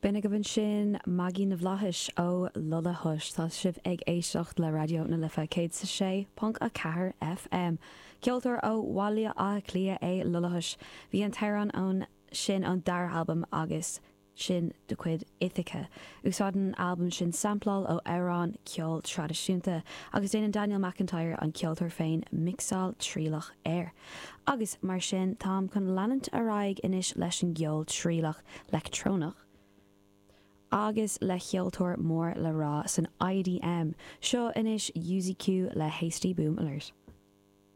B'in agaibh ansin Maggie na bhFlaitheas ó Lullahush. Tá sibh ag éisteacht le Raidió na Life 106.4 FM. Ceoltóir ó Bhaile Átha Cliath é Lullahush. Bhí an t-amhrán ón sin ón dara albam agus sin de chuid Ithaca. Úsáideann an albam sin sampláil ó amhráin ceol traidisiúnta agus déanann Daniel McIntyre, an ceoltóir féin, mixáil trialach air. Agus mar sin, táim chun leanúint ar aghaidh anois leis an gceol trialach leictreonach agus le ceoltóir mór le rá san IDM. Seo anois UZQ le Hasty Boom Alert.